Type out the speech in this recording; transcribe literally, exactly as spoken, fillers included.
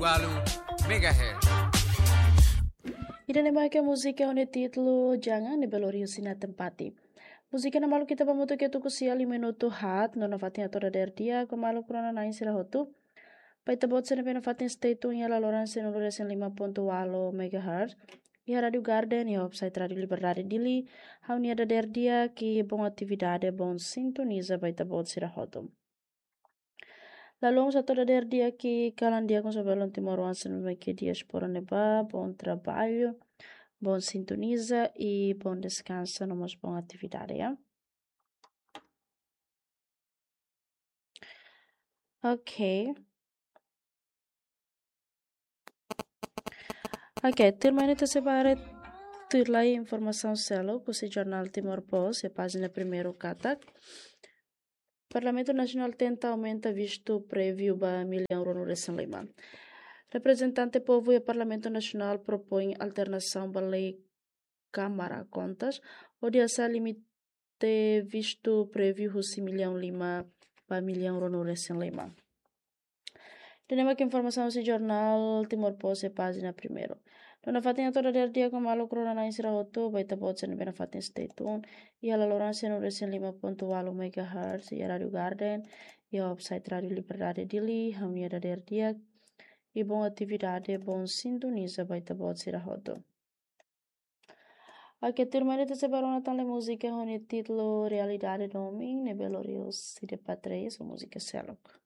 Walu megahertz. Ida-ne'e mak múzika ho nia títulu Jangan, ne'ebé lori husi Nathan Patti. Múzika ne'e maluk ita ba hamutuk iha tuku sia lima minutu haat, no nafatin hato'o dadeer di'ak ba maluk rona-na'in sira hotu. Ba ita-boot sira ne'ebé nafatin stay tune iha laloran cento e cinco ponto oito megahertz. Iha Rádio Garden, iha website Rádio Liberdade Dili. Ha'u-nia dadeer di'ak, bom atividade, bom sintoniza ba ita-boot sira hotu. Lalong hato'o dadeer di'ak, kalan di'ak ho sira belun timoroan sira ne'ebé iha diáspora ne'ebá, bom trabalho, bom sintoniza i bom deskansa, no mós bom atividade, ya. Ok. Ok, tuirmai ne'e ita sei ba haree tuirmai informasaun seluk husi jornál Timor Post, iha pájina primeiru katak: Parlamentu Nasionál tenta aumenta vistu préviu ba millaun ruanulu-resin-lima. Reprezentante povu iha Parlamentu Nasionál propoin alterasaun ba lei Kámara Kontas, hodi hasa'e limite vistu préviu husi millaun lima ba millaun ruanulu-resin-lima. Ida-ne'e mak informasaun husi jornál Timor Post iha pájina primeiru. No nafatin hato'o dadeer di'ak ba maluk rona-na'in sira hotu, ba ita-boot sira ne'ebé nafatin stay tune iha laloran cento e cinco ponto oito megahertz, iha Rádio Garden, iha website Rádio Liberdade Dili. Ha'u-nia dadeer di'ak i bom atividade, bom sintoniza ba ita-boot sira hotu. Ok, tuirmai ne'e ita sei ba rona tan múzika ho nia títulu Realidade Domin, ne'ebé lori husi Depa Três, múzika seluk.